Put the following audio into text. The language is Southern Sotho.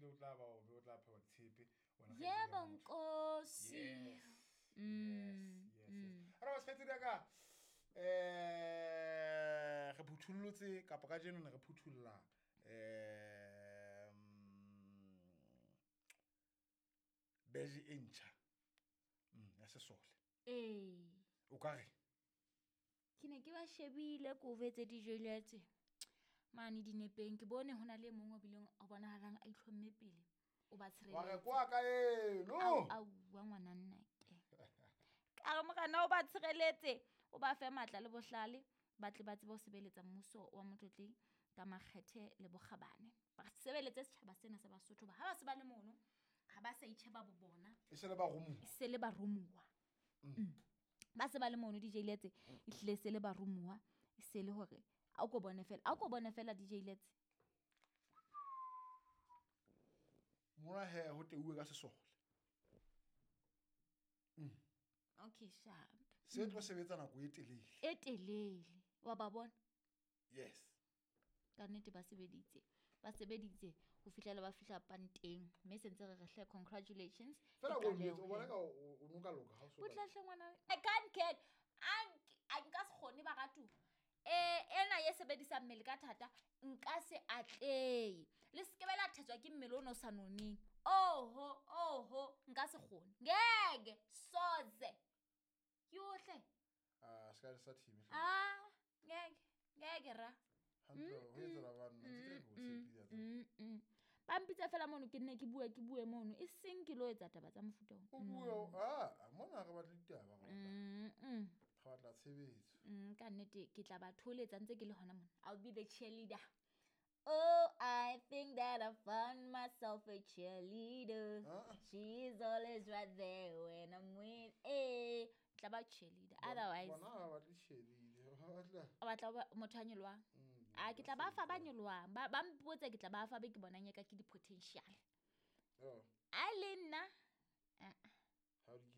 Ehlile o tla ba o be o tla phewa ditshepe wena kgaitsedi Yebo ya motho. nkosi. Yes. Yes, yes, yes. Ara ba kgaitsedi ya ka re phuthullotse kapa ka jeno ne re phuthulla beje e ntjha ya sesole. Ee. O ka re? Ke ne ke ba shebile ko vetse dijweletse mane dinepeng, ke bone ho na le e mong o bileng o bonahalang a itlhomme pele o ba Wa re tshireletse. kwa ka eno. Ao, aowa ngwana nna ke. Ka re morena o ba tshireletse, o ba fe matla le bohlale, ba tle ba tsebe ho sebeletsa mmuso wa Motlotleng ka makgethe le bokgabane. Ba sebeletse setjhaba sena sa Basotho ba ha ba se ba le mono, ha ba sa itjheba bo bona. E se le baromuwa. E se le baromuwa. Ba se ba le mono DJ Letse, e hlile se le baromuwa, e se le hore a o ko bone fela, a o ko bone fela DJ Letse. Mona he ho teuwe ka sesole. Okay, sharp. Se tlo sebetsa nako e telele. E telele. Wa ba bona? Yes. Ka nnete ba sebeditse. Ba sebeditse ho fihlela ba fihla panteng. Mme se ntse re re hle congratulations. Fela Ke ko qaleho o bona he. ka o no ka loka ha o so. Butle hle ngwana. I can't get. A nka se kgone baratu. Ena ye sebedisang mmele ka thata nka se atlehe. Le se ke be la thetswa ke mmele ono o sa noneng. Oho, oho, nka se kgone. Ngeke soze. Yohle. Ah, se ka sa team. Ah, ngeke. Ngeke ra. Hantle ho etsa banna ntse ke re o tshepile tsa. Ba mpitsa fela mono ke nne ke bue, ke bue mono. E seng ke lo etsa taba tsa mofuta oo. O bue, ah, mona re batla ditaba re batla. Re batla tshebetso. Ka nnete ke tla ba tholetsa ntse ke le hona mona. I'll be the cheerleader. Oh, I think that I found myself a cheerleader. Ah. She is always right there when I'm with. Tla ba cheerleader. Otherwise, Bona ha ba batle cheerleader, ba batla. O batla ho ba motho a nyolohang? Ah, ke tla ba fa ba nyolohang. Ba mpotse ke tla ba fa be ke bonang eka ke di-potential. Oh. A le nna? Ah. Ha di ke.